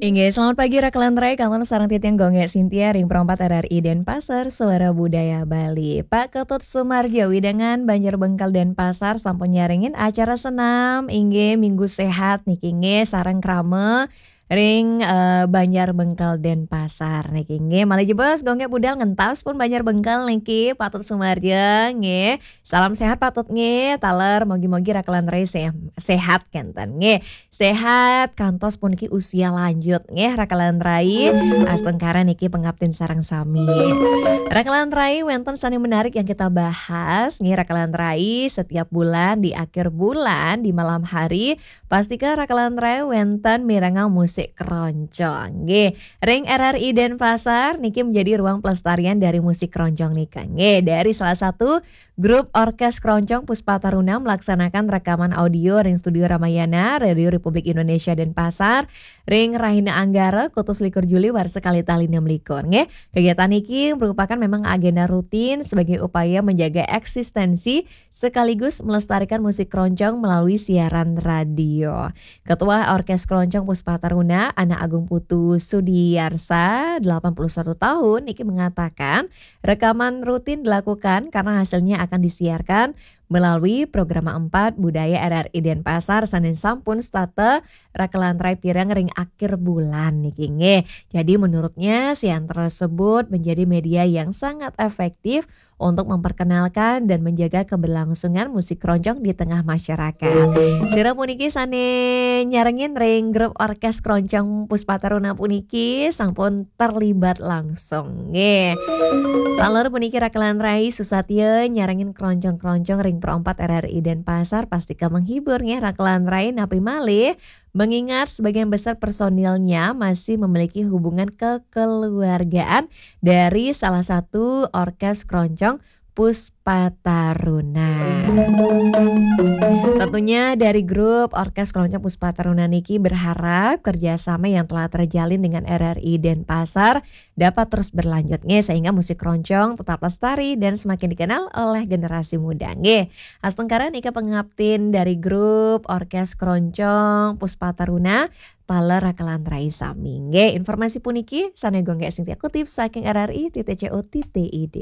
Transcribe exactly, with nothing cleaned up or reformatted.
Inggih, selamat pagi Rakelan Rai, kantun sareng titiang Gung Gé Sintia ring Pro empat R R I Denpasar, Suara Budaya Bali. Pak Ketut Sumarjo, wewidangan Banjar Bengkel Denpasar, sampun nyarengin acara senam, inggih, Minggu Sehat niki, inggih, sareng krama ring, eh, Banjar Bengkel Denpasar niki, inggih. Malih jebos, Gung Gé budal ngentas pun Banjar Bengkel niki, Pak Ketut Sumarjo, inggih. Salam sehat Pak Ketut, inggih. Taler, mogi-mogi Rakelan Rai se-, sehat kenten, inggih. Sehat, kantos puniki usia lanjut, nggih, Rakelan Rai. Astungkara niki pangaptin sareng sami. Rakelan Rai, wenten sane menarik yang kita bahas, nggih, Rakelan Rai, setiap bulan di akhir bulan, di malam hari, pastika Rakelan Rai wenten mirengang musik keroncong, nggih. Ring R R I Denpasar, niki menjadi ruang pelestarian dari musik keroncong nika, nggih. Dari salah satu Grup Orkes Keroncong Puspa Taruna melaksanakan rekaman audio ring Studio Ramayana, Radio Republik Indonesia Denpasar, ring Rahina Anggara, kutus likur Juli, warsa kalih tali enam likur, nggih. Kegiatan iki merupakan memang agenda rutin sebagai upaya menjaga eksistensi sekaligus melestarikan musik keroncong melalui siaran radio. Ketua Orkes Keroncong Puspa Taruna, Anak Agung Putu Sudiarsa, delapan puluh satu tahun, niki mengatakan, rekaman rutin dilakukan karena hasilnya akan disiarkan melalui Program empat Budaya R R I Denpasar, sane sampun setata Rakelan Rai pireng ring akhir bulan niki, nggih. Jadi menurutnya siaran tersebut menjadi media yang sangat efektif untuk memperkenalkan dan menjaga keberlangsungan musik keroncong di tengah masyarakat. Sira puniki sane nyarengin ring grup orkes keroncong Puspa Taruna puniki sampun terlibat langsung, nggih. Taler puniki Rakelan Rai susatya nyarengin keroncong-keroncong ring Pro empat R R I Denpasar, pastika menghibur, nggih, Rakelan Rai, napi malih mengingat sebagian besar personilnya masih memiliki hubungan kekeluargaan dari salah satu orkes keroncong Puspa Taruna. Tentunya dari grup orkes keroncong Puspa Taruna niki berharap kerjasama yang telah terjalin dengan R R I Denpasar dapat terus berlanjut, nggih, sehingga musik keroncong tetap lestari dan semakin dikenal oleh generasi muda, nggih. Astungkara nika pangaptin dari grup orkes keroncong Puspa Taruna, taler Rakelan Rai sami, nggih. Informasi puniki sane Gung Gé Sintia kutip saking R R I titik co titik I D.